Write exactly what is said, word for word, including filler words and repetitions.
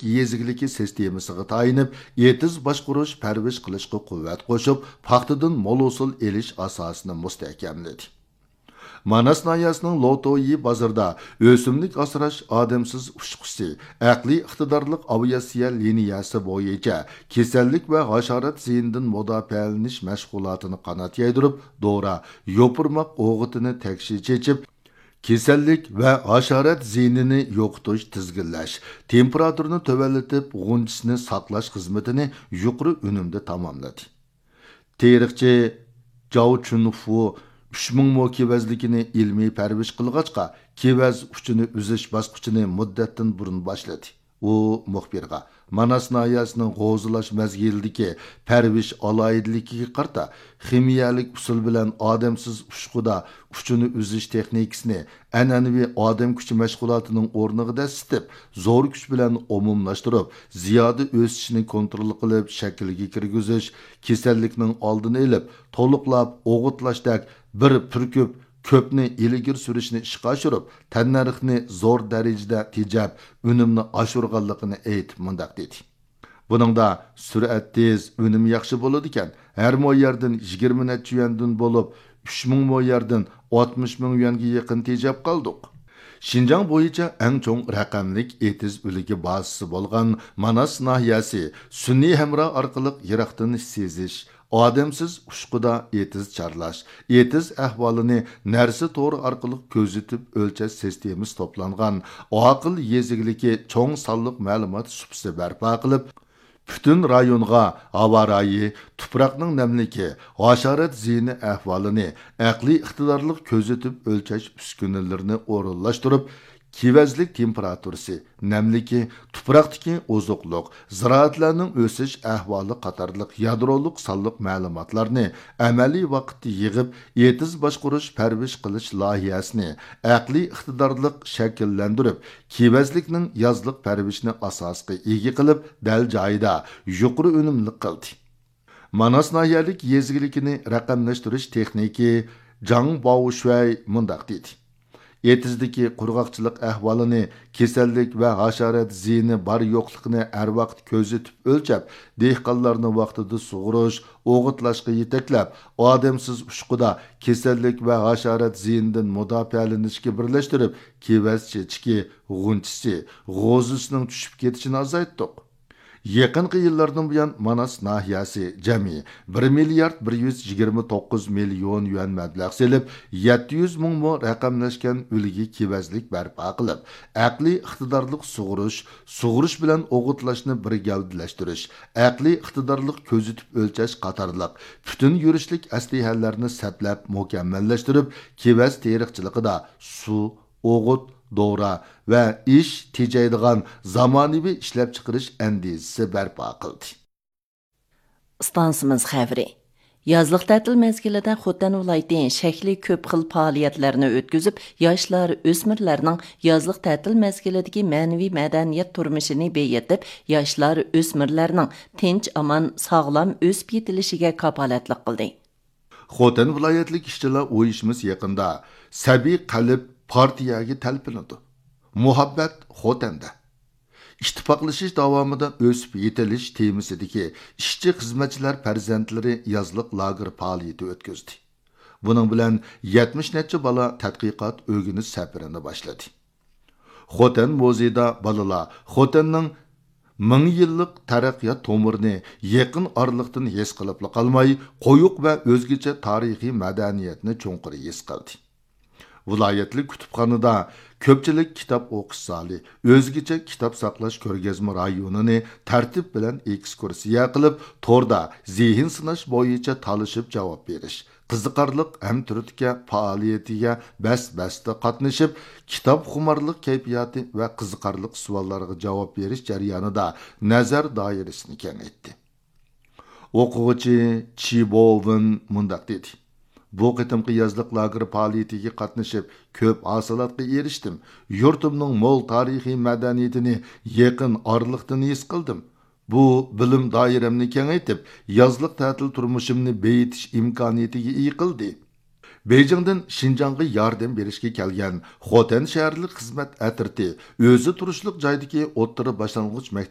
يېزا ئىگىلىكى سىستېمىسىغا تايىنىپ، ئېتىز باشقۇرۇش، پەرۋىش قىلىشقا قۇۋۋەت قوشۇپ، پاختىدىن مول ھوسۇل ئېلىش ئاساسىنى مۇستەھكەملىدى. ماناس ناھىيەسىنىڭ لوتويى بازىرىدا ئۆسۈملۈك ئاسراش ئادەمسىز ئۇچقۇسى، ئەقلىي ئىقتىدارلىق ئاۋىئاتسىيە لىنىيەسى بويىچە كېسەللىك ۋە ھاشارات زىيىنىدىن مۇداپىئەلىنىش مەشغۇلاتىنى قانات يايدۇرۇپ، دورا، يوپۇرماق ئوغۇتىنى تەكشى چېچىپ، كېسەللىك ۋە ھاشارات زىيىنىنى يوقىتىش، تىزگىنلەش، تېمپېراتۇرىنى تۆۋەنلىتىپ، غۇنچىسىنى ساقلاش خىزمىتىنى يۇقىرى ئۈنۈمدە تاماملىدى. تېرىقچى جاۋ چۈنفۇ ئۈچ مىڭ مو كېۋەزلىكىنى ئىلمىي پەرۋىش قىلغاچقا، كېۋەز ئۇچىنى ئۈزۈش باسقۇچىنى مۇددەتتىن بۇرۇن باشلىدى. ئۇ مۇخبىرغا ماناس ناھىيەسىنىڭ غوزىلاش مەزگىلىدىكى پەرۋىش ئالاھىدىلىكىگە قارىتا، خىمىيەلىك ئۇسۇل بىلەن ئادەمسىز ئۇچقۇدا ئۇچىنى ئۈزۈش تېخنىكىسىنى ئەنئەنىۋى ئادەم كۈچى مەشغۇلاتىنىڭ ئورنىغا دەسسىتىپ، زور كۈچ بىلەن ئومۇملاشتۇرۇپ، زىيادە ئۆسۈشىنى كونترول قىلىپ، شەكىلگە كىرگۈزۈش، كېسەللىكنىڭ ئالدىنى ئېلىپ، تولۇقلاپ ئوغۇتلاشتەك بىر پۈركۈپ كۆپنى ئىلگىرى سۈرۈشنى ئىشقا ئاشۇرۇپ، تەننەرخنى زور دەرىجىدە تېجەپ، ئۈنۈمنى ئاشۇرغانلىقىنى ئېيتىپ، مۇنداق دېدى. بۇنىڭدا سۈرئەت تېز، ئۈنۈم ياخشى بولىدىكەن. ھەر مو يەردىن يىگىرمە نەچچە يۈەندىن بولۇپ، ئۈچ مىڭ مو يەردىن ئاتمىش مىڭ يۈەنگە يېقىن تېجەپ قالدۇق. شىنجاڭ بويىچە ئەڭ چوڭ رەقەملىك ئېتىز ئۈلگە بازىسى بولغان ماناس ناھىيەسى سۈنئىي ھەمراھ ئارقىلىق يىراقتىن سېزىش، ئادەمسىز ئۇچقۇدا ئېتىز چارلاش، ئېتىز ئەھۋالىنى نەرسە تورى ئارقىلىق كۆزىتىپ ئۆلچەش سىستېمىسى توپلانغان ئاقىل يېزا ئىگىلىكى چوڭ سانلىق مەلۇمات سۇپىسى بەرپا قىلىپ، پۈتۈن رايونغا ھاۋا رايى، تۇپراقنىڭ نەملىكى، ھاشارات زىيىنى ئەھۋالىنى ئەقلىي ئىقتىدارلىق كۆزىتىپ ئۆلچەش ئۈسكۈنىلىرىنى ئورۇنلاشتۇرۇپ، كېۋەزلىك تېمپېراتۇرىسى، نەملىكى، تۇپراقتىكى ئوزۇقلۇق، زىرائەتلەرنىڭ ئۆسۈش ئەھۋالى قاتارلىق يادرولۇق سانلىق مەلۇماتلارنى ئەمەلىي ۋاقىتتا يىغىپ، ئېتىز باشقۇرۇش پەرۋىش قىلىش لايىھەسىنى ئەقلىي ئىقتىدارلىق شەكىللەندۈرۈپ، كېۋەزلىكنىڭ يازلىق پەرۋىشىنى ئاساسقا ئىگە قىلىپ، دەل جايىدا يۇقىرى ئۈنۈملۈك قىلدى. ماناس ناھىيەلىك يېزا ئىگىلىكىنى رەقەملەشتۈرۈش تېخنىكى جاڭ باۋشۈەي مۇنداق دېدى: ئېتىزدىكى قۇرغاقچىلىق ئەھۋالىنى، كېسەللىك ۋە ھاشارات زىيىنى بار يوقلۇقىنى ھەر ۋاقىت كۆزىتىپ ئۆلچەپ، دېھقانلارنى ۋاقتىدا سۇغۇرۇش، ئوغۇتلاشقا يېتەكلەپ، ئادەمسىز ئۇچقۇدا كېسەللىك ۋە ھاشارات زىيىنىدىن مۇداپىئەلىنىشكە بىرلەشتۈرۈپ، كېۋەز چېچىكى، غۇنچىسى، غوزىسىنىڭ چۈشۈپ كېتىشىنى ئازايتتۇق. يېقىنقى يىللاردىن بۇيان، ماناس ناھىيەسى جەمئىي بىر مىليارد بىر يۈز يىگىرمە توققۇز مىليون يۈەن مەبلەغ سېلىپ، يەتتە يۈز مىڭ مو رەقەملەشكەن ئۈلگە كېۋەزلىك بەرپا قىلىپ، ئەقلىي ئىقتىدارلىق سۇغۇرۇش، سۇغۇرۇش بىلەن ئوغۇتلاشنى بىر گەۋدىلەشتۈرۈش، ئەقلىي ئىقتىدارلىق كۆزىتىپ ئۆلچەش قاتارلىق پۈتۈن يۈرۈشلۈك ئەسلىھەلەرنى سەپلەپ مۇكەممەللەشتۈرۈپ، كېۋەز تېرىقچىلىقىدا سۇ، ئوغۇت، دورا ۋە ئىش تېجەيدىغان زامانىۋى ئىشلەپچىقىرىش ئەندىزىسى بەرپا قىلدى. ئىستانسىمىز خەۋىرى. يازلىق تەتىل مەزگىلىدە خوتەن ۋىلايىتى شەكلى كۆپ خىل پائالىيەتلەرنى ئۆتكۈزۈپ، ياشلار، ئۆسمۈرلەرنىڭ يازلىق تەتىل مەزگىلىدىكى مەنىۋى مەدەنىيەت تۇرمۇشىنى بېيىتىپ، ياشلار، ئۆسمۈرلەرنىڭ تىنچ-ئامان، ساغلام ئۆسۈپ يېتىلىشىگە كاپالەتلىك قىلدى. خوتەن ۋىلايەتلىك ئىشچىلار ئۇيۇشمىسى يېقىندا سەبىي قەلب پارتىيەگە تەلپۈنىدۇ. مۇھەببەت خوتەندە. ئىتتىپاقلىشىش داۋامىدا ئۆسۈپ يېتىلىش تېمىسىدىكى ئىشچى-خىزمەتچىلەر پەرزەنتلىرى يازلىق لاگېر پائالىيىتى ئۆتكۈزدى. بۇنىڭ بىلەن يەتمىش نەچچە بالا تەتقىقات ئۆگىنىش سەپىرىنى باشلىدى. خوتەن مۇزېيىدا بالىلار خوتەننىڭ مىڭ يىللىق تەرەققىيات تومۇرىنى يېقىن ئارىلىقتىن ھېس قىلىپلا قالماي، قويۇق ۋە ئۆزگىچە تارىخىي مەدەنىيەتنى چوڭقۇر ھېس قىلدى. ۋىلايەتلىك كۇتۇپخانىدا كۆپچىلىك كىتاب ئوقۇش زالى، ئۆزگىچە كىتاب ساقلاش كۆرگەزمە رايونىنى تەرتىپ بىلەن ئېكسكۇرسىيە قىلىپ، توردا زېھىن سىناش بويىچە تالىشىپ جاۋاب بېرىش، قىزىقارلىق ھەمتۈرتكە پائالىيىتىگە بەس-بەستە قاتنىشىپ، كىتابخۇمارلىق كەيپىياتى ۋە قىزىقارلىق سوئاللارغا جاۋاب بېرىش جەريانىدا نەزەر دائىرىسىنى كېڭەيتتى. ئوقۇغۇچى چى بوۋېن مۇنداق دېدى: بۇ قېتىمقى يازلىق لاگېر پائالىيىتىگە قاتنىشىپ، كۆپ ھاسىلاتقا ئېرىشتىم. يۇرتۇمنىڭ مول تارىخىي مەدەنىيىتىنى يېقىن ئارىلىقتىن ھېس قىلدىم. بۇ بىلىم دائىرەمنى كېڭەيتىپ، يازلىق تەتىل تۇرمۇشۇمنى بېيىتىش ئىمكانىيىتىگە ئىگە قىلدى. بېيجىڭدىن شىنجاڭغا ياردەم بېرىشكە كەلگەن خوتەن شەھەرلىك خىزمەت ئەترىتى ئۆزى تۇرۇشلۇق جايدىكى ئوتتۇرا باشلانغۇچ مەكتەپ